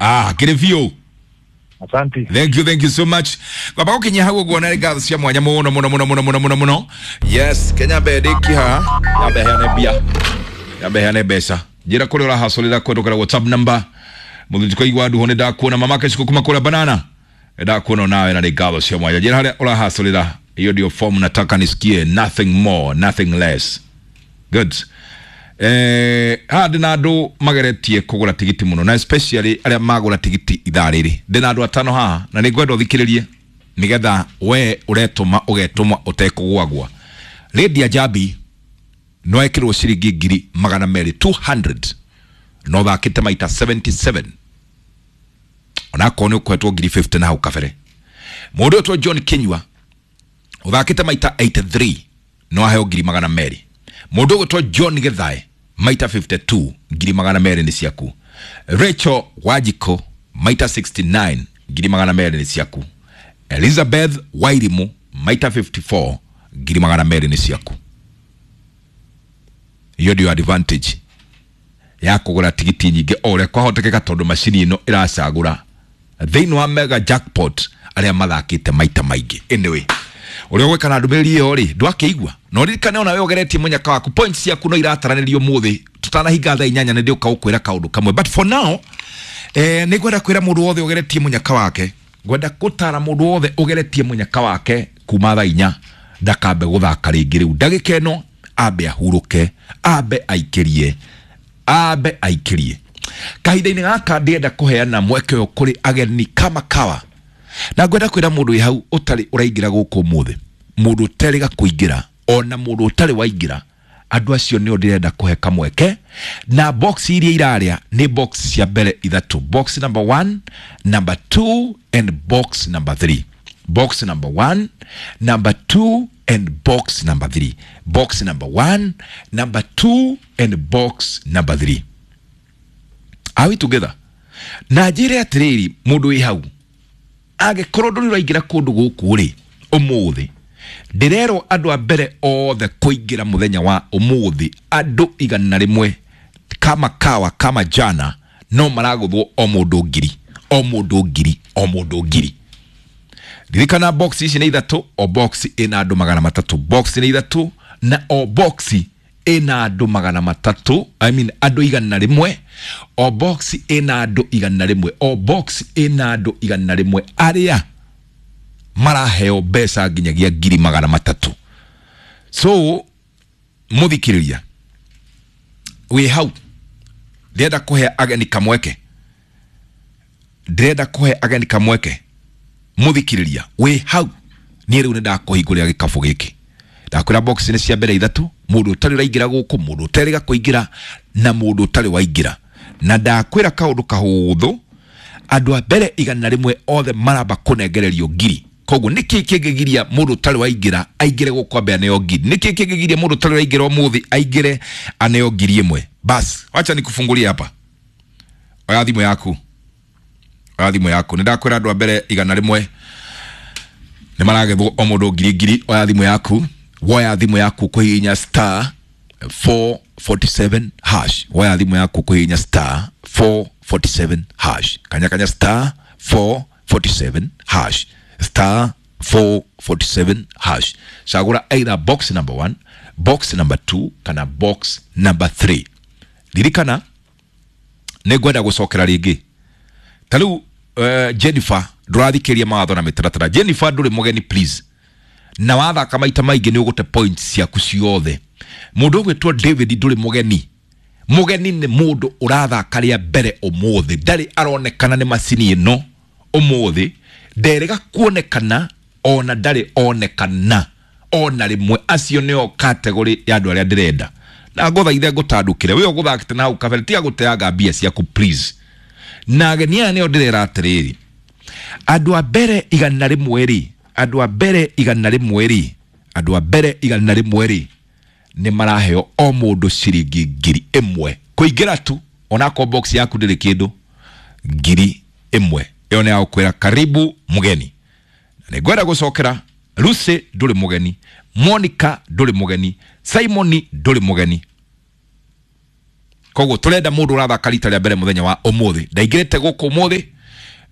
Ah, kĩrĩ biũ. Asante. Thank you, thank you so much. Kwamba gũkinyia hau ũguo na ngatho cia mwanya mũno mũno mũno mũno mũno mũno mũno. Yes, Kenya mbe ndĩki haha. Nyambe heane mbia. Nyambe heane mbeca. Njĩra kũrĩa ũrahacorĩra kũhetũkĩra WhatsApp number. Mũthuri kwa nduho nĩ ndakuona mama Keciko kuma kũrĩa banana. Ndakuona nawe na nĩ ngatho cia mwanya. Njĩra harĩa ũrahacorĩra. Hiyo ndio form nataka nisikie, nothing more, nothing less. Good. Haha ndĩna andũ mageretie kũgũra tigiti mũno na especially arĩa magũra tigiti ithaa rĩrĩ. Ndĩna andũ atano haha na nĩ ngwenda ũthikĩrĩrie nĩgetha we ũretũma ũgetũma ũtekũgwagwa. Lydia Jambi no ekĩrwo ciringi 200,000 200 no thakĩte maita 77 onakorwo nĩ ũkũhetwo 50,000 na hau kabere. Mũndũ ũyũ John Kinyua ũthakĩte maita 83 no aheo 200,000. Mũndũ ũgwĩtwo John Githae maita 52 200,000 nĩ ciaku. Rachel Wajiko maita 69 200,000 nĩ ciaku. Elizabeth Wairimu maita 54 200,000 nĩ ciaku. Hiyo ndio advantage ya kũgũra tigiti nyingĩ o ũrĩa kwahotekeka tondũ macini ĩno ĩracagũra thĩinĩ wa mega jackpot arĩa mathakĩte maita maingĩ. Anyway, ũrĩa ũgwĩka na ndũmĩrĩri ĩyo rĩ ndwakĩigua na ũririkane ona we ũgeretie mũnyaka waku points ciaku no irataranĩrio mũthĩ tũtanahinga thaa 8 nĩ ndĩũka gũkwĩra kaũndũ kamwe, but for now nĩ ngwenda kwĩra mũndũ wothe ũgeretie mũnyaka wake, ngwenda gũtara mũndũ wothe ũgeretie mũnyaka wake kuma thaa 4 ndakambe gũthaka rĩngĩ rĩu ndagĩka ĩno ambe ahurũke, ambe aikĩrie, ambe aikĩrie. Kahinda-inĩ gaka ndĩrenda kũheana mweke ũyũ kũrĩ ageni kama kawa na ngwenda kwĩra mũndũ wĩ hau ũtarĩ ũraingĩra gũkũ ũmũthĩ, mũndũ ũterĩga kũingĩra ona mũndũ ũtarĩ waingĩra, andũ acio nĩo ndĩrenda kũhe kamweke. Na box iria irarĩa nĩ box cia mbere ithatũ, box number 1, number 2 and box number 3. Box number 1, number 2 and box number 3. Box number 1, number 2 and box number 3. Are we together? Na njĩre atĩrĩrĩ, mũndũ wĩ hau angĩkorwo ndũrĩ ũraingĩra kũndũ gũkũ rĩ ũmũthĩ, ndĩrerwo andũ a mbere othe kũingĩra mũthenya wa ũmũthĩ andũ 100 kama kawa kama jana no maragũthwo o mũndũ 1,000, o mũndũ 1,000, o mũndũ 1,000. Ririkana box ici nĩ ithatũ, o box ĩna andũ 300. Box nĩ ithatũ na o box ĩna andũ 300, I mean andũ 100, o box ĩna andũ 100, o box ĩna andũ 100 arĩa maraheo mbeca nginyagia 300,000. So mũthikĩrĩria wĩ hau, ndĩrenda kũhe ageni kamweke, ndĩrenda kũhe ageni kamweke. Mũthikĩrĩria wĩ hau, niĩ rĩu nĩ ndakũhingũrĩra gĩkabũ gĩkĩ. Ndakwĩra box nĩ cia mbere ithatũ, mũndũ ũtarĩ ũraingĩra gũkũ, mũndũ ũterĩga kũingĩra na mũndũ ũtarĩ waingĩra. Na ndakwĩra kaũndũ kahũthũ, andũ a mbere 100 othe maramba kũnengererio 1,000. Koguo nĩkĩ kĩngĩgiria mũndũ ũtarĩ waingĩra aingĩre gũkũ ambe aneo 1,000? Nĩkĩ kĩngĩgiria mũndũ ũtarĩ waingĩra ũmũthĩ aingĩre aneo 1,000? Bas, wacha nikufungulie hapa. Oya thimũ yaku, oya thimũ yaku. Nĩ ndakwĩra andũ a mbere 100 nĩ maragethwo o mũndũ 1,000. Oya thimũ yaku, woya thimũ yaku kũhihinya star 447 hash. Woya thimũ yaku kũhihinya star 447 hash. Kanya kanya star 447 hash, star 447 hash. Cagũra either box number 1, box number 2 kana box number 3. Ririkana nĩ ngwenda gũcokera rĩngĩ. Ta rĩu Jennifer ndũrathikĩria mawatho na mĩtaratara. Jennifer ndũrĩ mũgeni please, na wathaka maita maingĩ nĩ ũgũte points ciaku ciothe. Mũndũ ũgwĩtwo David ndũrĩ mũgeni. Mũgeni nĩ mũndũ ũrathaka rĩa mbere ũmũthĩ, ndarĩ aronekana nĩ macini ĩno ũmũthĩ, nderĩga kuonekana ona ndarĩ onekana ona rĩmwe. Acio nĩo category ya andũ arĩa ndĩrenda. Na ngũthaithe ngũtandũkĩre we ũgũthakĩte na hau kabere, tiga gũteanga mbia ciaku please. Na ageni aya nĩo ndĩrera atĩrĩrĩ, andũ a mbere 100 rĩ, andũ a mbere 100 rĩ, andũ a mbere 100 rĩ nĩ maraheo o mũndũ ciringi 1,000 kũingĩra tu, onakorwo box yaku ndĩrĩ kĩndũ, 1,000. Ĩyo nĩ ya gũkwĩra karibu mũgeni. Na nĩ ngwenda gũcokera Lucy ndũrĩ mũgeni, Monica ndũrĩ mũgeni, Simon ndũrĩ mũgeni. Koguo turenda mundu urathaka rita ria mbere muthenya wa umuthi, ndaingirite guku umuthi,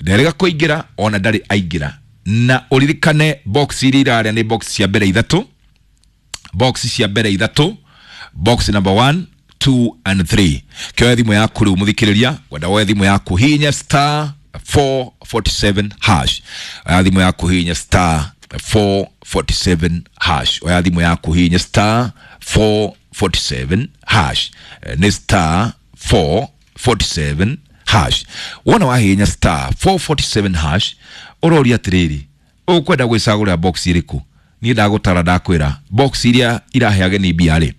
nderega kuingira ona ndari aingira. Na uririkane box iria iraria ni box cia mbere ithatu, box cia mbere ithatu, box number 1, 2 and 3. Kioya thimu yaku riu muthikiriria, ngwenda woe thimu yaku hinya star 447 hash. Oya thimu yaku hinya star 447 hash. Oya thimu yaku hinya star 447 hash. Ni star 447 hash. Wona wahinya star 447 hash, uroria atiriri, ukwenda gwicagurira box iriku? Niĩ ndagũtara ndakwĩra box iria irahe ageni mbia rĩ,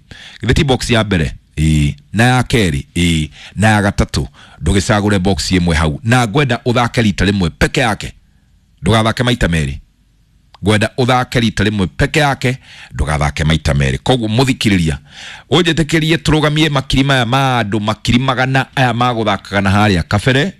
githĩ ti box ya mbere ĩĩ, na ya kerĩ ĩĩ, na ya gatatũ. Ndũgĩcagũre box ĩmwe hau, na ngwenda ũthake rita rĩmwe peke yake, ndũgathake maita merĩ. Ngwenda ũthake rita rĩmwe peke yake, ndũgathake maita merĩ. Koguo mũthikĩrĩria, ũnjĩtĩkĩrie tũrũgamie makiri maya ma andũ makiri magana aya magũthakaga na harĩa kabere,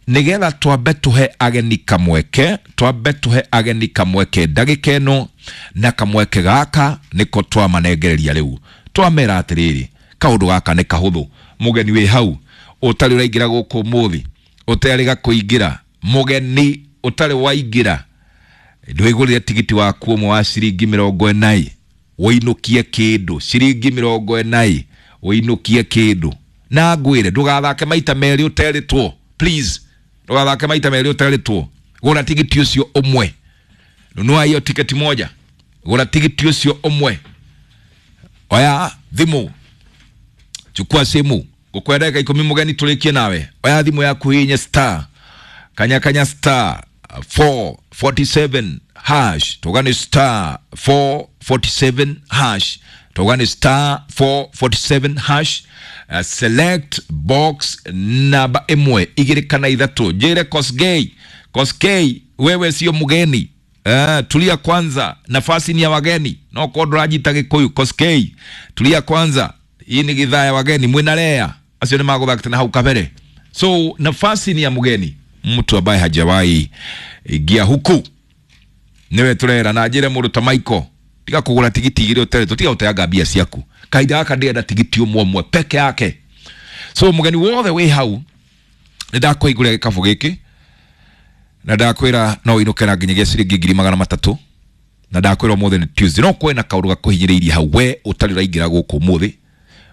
nigetha twambe tuhe ageni kamweke, twambe tuhe ageni kamweke ndagĩka ĩno, na kamweke gaka nĩko twamanengereria rĩu. Twamera atĩrĩrĩ, kaũndũ gaka nĩ kahũthũ. Mũgeni wĩ hau ũtarĩ ũraingĩra gũkũ ũmũthĩ, ũtarĩ kũingĩra, mũgeni ũtarĩ waingĩra, ndwĩgũrĩre tigiti waku ũmwe wa ciringi 40, ũinũkie kĩndũ ciringi 40, ũinũkie kĩndũ. Na ngwĩre ndũgathake maita merĩ ũterĩtwo, please, ndũgathake maita merĩ ũterĩtwo. Gũra tigiti ũcio ũmwe, nunua hiyo tiketi moja, gũra tigiti ũcio ũmwe. Oya thimũ, chukua simu, ngũkwenda ndagĩka 10 mũgeni tũrĩkie nawe. Oya thimũ yaku hihinye star kanya kanya star 447 hash, tugane star 447 hash, tugane star 447 hash. Select box namba 1, 2 kana 3. Njire Kosgei, Kosgei wewe sio mgeni. Tulia kwanza, nafasi ni ya wageni. No ko ndũranjita Gĩkũyũ. Kosgei, tulia kwanza, hii ni githaa ya wageni, mwina lea acio nĩ magũthakĩte na hau kabere. So nafasi ni ya mgeni, mtu ambaye hajawahi ingia huku niwe turera. Na njire mũndũ ta Michael, tiga kũgũra tigiti igĩrĩ ũterĩtwo, tiga gũteanga mbia ciaku. Kahinda gaka ndĩrenda tigiti ũmwe ũmwe peke yake. So mũgeni wothe wĩ hau, nĩ ndakũhingũrĩra gĩkabũ gĩkĩ na ndakwĩra no ũinũke na nginyagia ciringi 300,000, na ndakwĩra ũmũthĩ nĩ Tuesday. No kwĩna kaũndũ gakũhinyĩrĩirie hau, we ũtarĩ ũraingĩra gũkũ ũmũthĩ,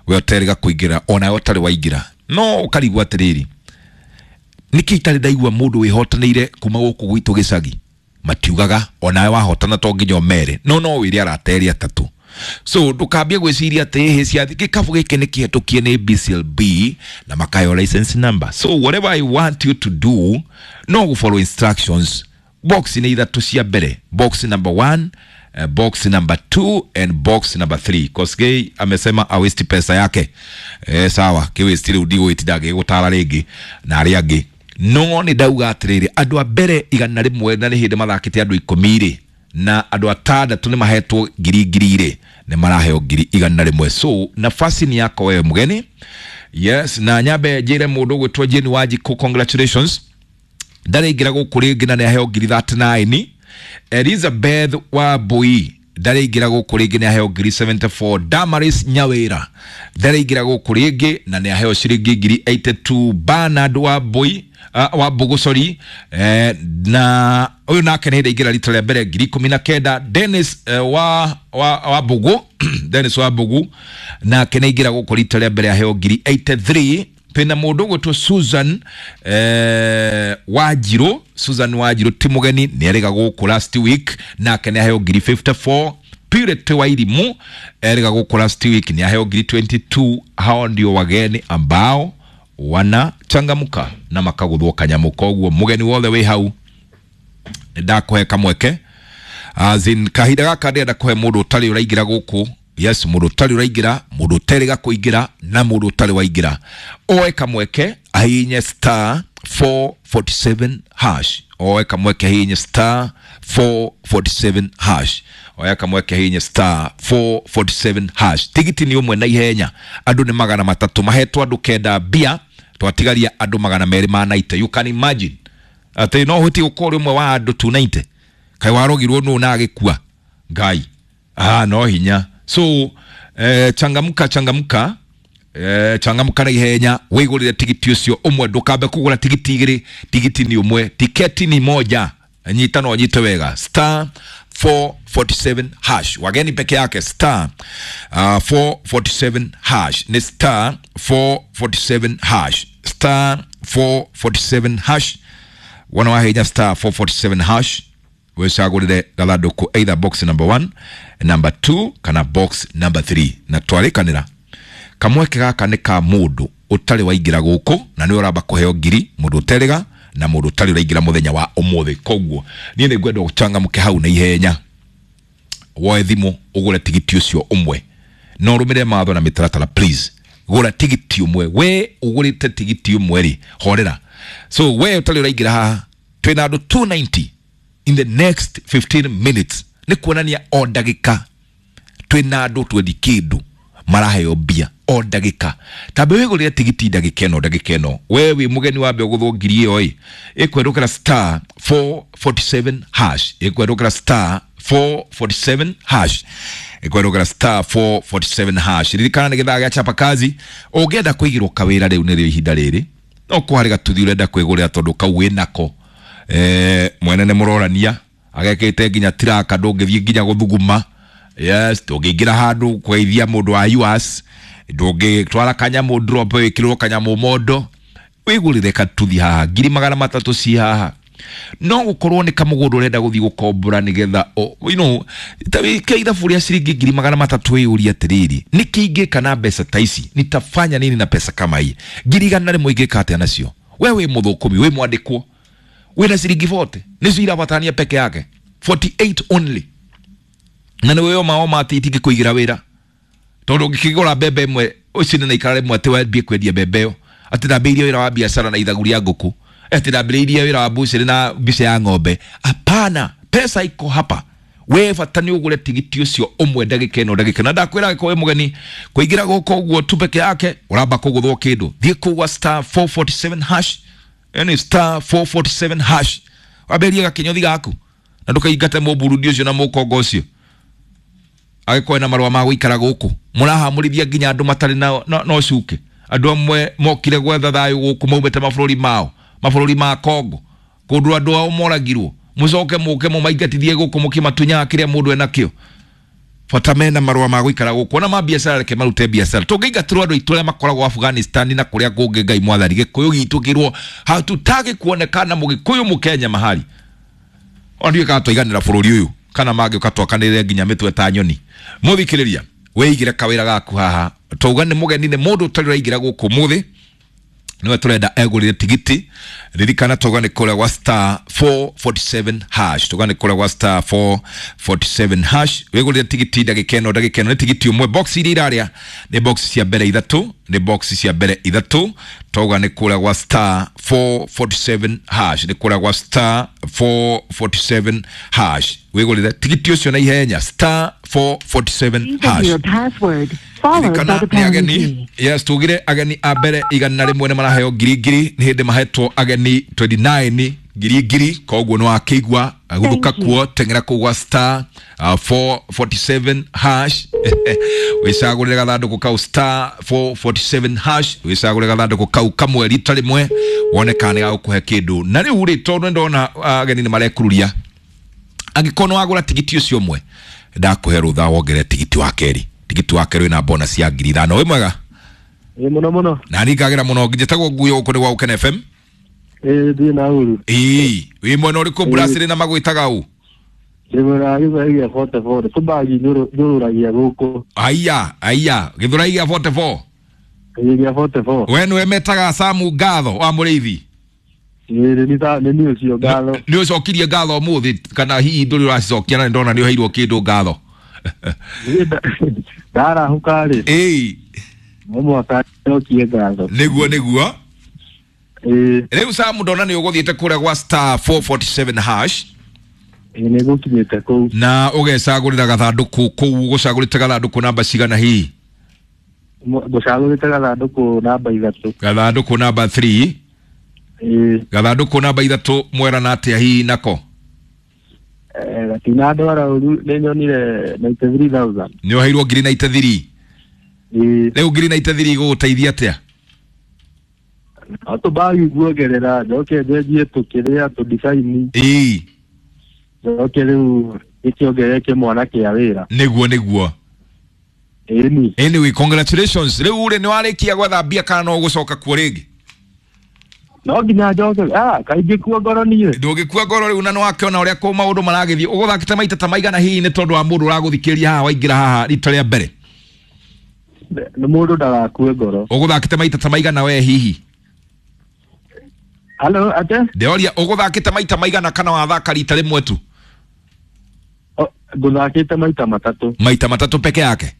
we ũtarĩ gakũingĩra, ona we ũtarĩ waingĩra, no ũkarigwo atĩrĩrĩ, nĩkĩ itarĩ ndaigua mũndũ wĩhotanĩire kuma gũkũ gwitũ gĩcagi? Matiugaga onawe wahotana to nginya ũmere, no no wĩre arata erĩ atatũ. So ndũkambie gwĩciria atĩ ĩhĩ ciathi gĩkabũ gĩkĩ nĩ kĩhetũkie nĩ BCLB na makayo license number. So whatever I want you to do, no go follow instructions. Box nĩ ithatũ cia mbere, box number 1, box number 2 and box number 3. Kosgei amesema awesti pesa yake. Sawa, kiwesti rĩu ndigũgĩtinda ngĩgũtara rĩngĩ na arĩa angĩ. No nĩ ndauga atĩrĩrĩ, andũ a mbere 100 na nĩ hĩndĩ mathakĩte andũ 10 rĩ, na andũ 6 nĩ mahetwo ngiri ngiri rĩ, nĩ maraheo 100,000. So nafasi ni yako wewe mgeni. Yes, na nyambe njĩre mũndũ ũgwĩtwo Jane Wanjikũ, congratulations, ndaraingĩra gũkũ rĩngĩ na nĩ aheo 39,000. Elizabeth Wambui ndaraingĩra gũkũ rĩngĩ nĩ aheo 74,000. Damaris Nyawĩra ndaraingĩra gũkũ rĩngĩ na nĩ aheo ciringi 82,000. Bernard Wambui, Wambugu sorry, na ũyũ nake nĩ ndaingĩra rita rĩa mbere 19,000. Dennis wa Wambugu Dennis Wambugu nake nĩ aingĩra gũkũ rita rĩa mbere aheo 83,000. Twĩna mũndũ ũgwĩtwo Susan Wanjirũ, Susan Wanjirũ ti mũgeni, nĩ erĩga gũkũ last week nake nĩ aheo 54,000. Purity Wairimu erĩga gũkũ last week nĩ aheo 22,000. Hao ndio wageni ambao wanachangamka na makaguthwo kanyamũ. Koguo mũgeni wothe wĩ hau ndakũhe kamweke, as in kahinda gaka ndĩrenda kũhe mũndũ ũtarĩ ũraingĩra gũkũ. Yes, mũndũ ũtarĩ ũraingĩra, mũndũ ũterĩga kũingĩra na mũndũ ũtarĩ waingĩra, oe kamweke ahihinye star 447 hash. Oe kamweke ahihinye star 447 hash. Oya kamweke ahihinye star 447 hash. Tigiti ni ũmwe na ihenya, andũ nĩ 300 mahetwo andũ 9 mbia, twatigaria andũ 290. You can imagine atĩ no ũhotie gũkorwo ũrĩ ũmwe wa andũ 290, kaĩ warogirwo nũ na agĩkua ngai, no hinya. So changamka changamka. Changamka na ihenya wigurire tigiti ucio umwe, ndukambe kugura tigiti igiri. Tigiti ni umwe, tiketi ni moja. Nyita no nyite wega, star 447 hash. Wageni peke yake, star 447 hash. Ni star 447 hash, star 447 hash. Wana wahenya star 447 hash, wicagurire gathanduku, either box number 1, number 2 kana box number 3. Na twarikanira kamweke gaka nĩ ka mũndũ ũtarĩ waingĩra gũkũ na nĩ ũramba kũheo ngiri, mũndũ ũterĩga na mũndũ ũtarĩ ũraingĩra mũthenya wa ũmũthĩ. Koguo niĩ nĩ ngwenda ũcangamũke hau na ihenya, woe thimũ ũgũre tigiti ũcio ũmwe, na ũrũmĩrĩre mawatho na mĩtaratara. Please, gũra tigiti ũmwe. We ũgũrĩte tigiti ũmwe rĩ, horera. So we ũtarĩ ũraingĩra haha, twĩna andũ 290 in the next 15 minutes. Nĩ kuonania o ndagĩka twĩna andũ twendi kĩndũ maraheo mbia o ndagĩka. Tambe wĩgũrĩre tigiti ndagĩka ĩno, ndagĩka ĩno. We wĩ mũgeni, wambe ũgũthwo ngiri ĩyo ĩ ĩkwerũkĩra star 447 hash, ĩkwerũkĩra star 447 hash, ĩkwerũkĩra star 447 hash. Ririkana nĩ gĩthaa gĩa chapa kazi. Ũngĩenda kũigĩrwo kawĩra rĩu nĩrĩo ihinda rĩrĩ, no kũharĩ gatuthi ũrenda kwĩgũrĩra tondũ kau wĩnako, mwene nĩ mũrorania agekĩte nginya tiraka, ndũngĩthiĩ nginya gũthuguma. Yes, ndũngĩingĩra handũ kũgeithia mũndũ wa US, ndũngĩtwara kanyamũ drop wĩkĩrwo kanyamũ mondo. Wĩgũrĩre katuthi haha, 300,000 ci haha. No gũkorwo nĩ kamũgũnda ũrenda gũthiĩ gũkombora nĩgetha ta wĩke ithabu rĩa ciringi 300,000, wĩyũrie atĩrĩrĩ, nĩkĩ ingĩka na mbeca ta ici? Nitafanya nini na pesa kama hii? 100,000 ingĩka atĩa nacio? We wĩ mũthũkũmi, wĩ mwandĩkwo, wĩna ciringi 40 nĩcio irabatania peke yake, 48 only, na nĩ wĩyo mao mati itingĩkũigĩra wĩra, tondũ ũngĩkĩgũra mbembe ĩmwe ũcine na ikara rĩmwe atĩ wambie kwendia mbembe ĩyo, atĩ ndambĩrĩirie wĩra wa biacara na ithagu rĩa ngũkũ, atĩ ndambĩrĩirie wĩra wa mbucĩrĩ na mbica ya ng'ombe. Hapana, pesa iko hapa. We bata nĩ ũgũre tigiti ũcio ũmwe ndagĩka ĩno, ndagĩka ĩno. Na ndakwĩra angĩkorwo wĩ mũgeni kũingĩra gũkũ ũguo tu peke yake, ũramba kũgũthwo kĩndũ. Thiĩ kũu gwa star 447 hash, yani star 447 hash, wambĩrĩrie gakĩnyothi gaku na ndũkaingate mũburundi ũcio na mũkongo ũcio agĩkorwo na marũa ma gũikara gũkũ. Mũrahamũrithia nginya andũ matarĩ na ũcuke. Andũ amwe mokire gwetha thayũ gũkũ, maumĩte mabũrũri mao, mabũrũri ma Kongo, kũndũ andũ ao moragirwo. Mũcoke mũke mũmaingatithie gũkũ mũkĩmatunyaga kĩrĩa mũndũ enakĩo. Bata mena marũa ma gũikara gũkũ, ona ma biacara reke marute biacara. Tũngĩingatĩrwo andũ aitũ arĩa makoragwo Afghanistan na kũrĩa kũngĩ, Ngai mwathani, gĩkũyũ gitũ kĩrwo hatutaki kuonekana mũgĩkũyũ mũkenya mahali. Ona ndiũĩ kana twaiganĩra bũrũri ũyũ kana mangĩũka twakanĩrĩre nginya mĩtwe ta nyoni. Mũthikĩrĩria, wĩigĩre kawĩra gaku haha. Twauga nĩ mũgeni, nĩ mũndũ ũtarĩ ũraingĩra gũkũ mũthĩ niwe turenda egũrĩre tigiti. Ririkana twauga nĩ kũrĩa gwa star 447 hash, twauga nĩ kũrĩa gwa star 447 hash. Wĩgũrĩre tigiti ndagĩka ĩno, ndagĩka ĩno. Nĩ tigiti ũmwe. Box iria irarĩa nĩ box cia mbere ithatũ, nĩ box cia mbere ithatũ. Twauga nĩ kũrĩa gwa star 447 hash, nĩ kũrĩa gwa star 447 hash. Wĩgũrĩre tigiti ũcio na ihenya, star 447 Enter hash. your password followed by Ririkana the nĩ pound ageni key. yes, tugire ageni a mbere 100 nĩ maraheo ngiri ngiri. Nĩ hĩndĩ mahetwo ageni 29 ngiri ngiri. Koguo nĩ wakĩigua guthuka Thank you. kuo teng'era kũu gwa star 447 hash, wĩcagũrĩre gathandũkũ kau, star 447 hash, wĩcagũrĩre gathandũkũ kau kamwe rita rĩmwe, wone kana nĩ gagũkũhe kĩndũ. Na rĩu rĩ, tondũ nĩ ndona ageni nĩ marekururia, angĩkorwo nĩ wagũra tigiti ũcio ũmwe, ndakũhe rũtha wongerere tigiti wa kerĩ. Tigiti wa kerĩ wĩna bonus ya 5,000. Wĩ mwega? Ĩ mũno mũno. Na niĩ ngagĩra mũno. Njĩtagwo Nguyo, gũkũ nĩ gwa Gũkena FM. Ĩ thiĩ na uru. Ĩĩ, wĩ mwena ũrĩkũ Brasili na magwĩtaga ũ? Ndĩ mwena wa Gĩthweri gĩa 44, tũmbagi nyũrũragia gũkũ. Aya aya, Gĩthũrai gĩa 44? Ĩ gĩa 44. We nĩwe metaga Samu Ngatho wa Mũrĩithi? Ĩ nĩ niĩ ũcio ngatho. Nĩ ũcokirie ngatho ũmũthĩ kana hihi ndũrĩ ũracicokia? Na nĩ ndona nĩ ũheirwo kĩndũ ngatho. Niĩ ndarahũka rĩ, Ĩĩ. no mũhaka njokie ngatho. Nĩguo, nĩguo. Ĩ. Rĩu Samu, ndona nĩ ũgũthiĩte kũrĩa gwa star 447 hash. Ĩ nĩ ngũkinyĩte kũu. Na ũgecagũrĩra gathandũkũ kũu. Ũgũcagũrĩte gathandũkũ namba cigana hihi? Ngũcagũrĩte gathandũkũ namba 3. Gathandũkũ namba 3? Ĩ. Gathandũkũ namba 3 mwerana atĩa hihi nako? Gatinandwara ũru, nĩ nyonire 93,000. Nĩ ũheirwo ngiri 93? Ĩĩ. Rĩu ngiri 93 igũgũteithia atĩa? No tũbagi guongerera njoke njenjie tũkĩrĩa tũdicaini. Ĩĩ. Njoke rĩu gĩkĩongerere kĩmwana kĩa wĩra. Nĩguo nĩguo. Ĩni. Anyway, congratulations. Rĩu rĩ nĩ warĩkia gwetha mbia kana no ũgũcoka kuo rĩngĩ? No nginya njoke ah kaingĩ kuo ngoro niĩ. Ndũngĩkua ngoro rĩu na nĩ wakĩona ũrĩa kũ maũndũ maragĩthiĩ. Ũgũthakĩte maita ta maigana hihi nĩ tondũ wa mũndũ ũragũthikĩrĩria haha waingĩra haha rita rĩa mbere? Nĩ mũndũ ndagakue ngoro. Ũgũthakĩte maita ta maigana we hihi? Halo ate? Ndĩroria ũgũthakĩte maita maigana kana wathaka rita rĩmwe tu? O, ngũthakĩte maita matatũ. Maita matatũ peke yake?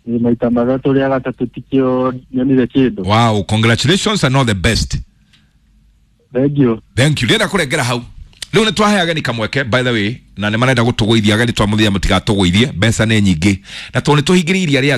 Ĩ, maita matatũ rĩa gatatũ tikĩo nyonire kĩndũ. Wow, congratulations and all the best. Thank you. Thank you. Ndĩrenda kũrengera hau. Rĩu nĩ twahe ageni kamweke by the way, na nĩ marenda gũtũgũithia ageni twamũthia mũtigatũgũithie, mbeca nĩ nyingĩ na tondũ nĩ tũhingĩrĩirie arĩa angĩ.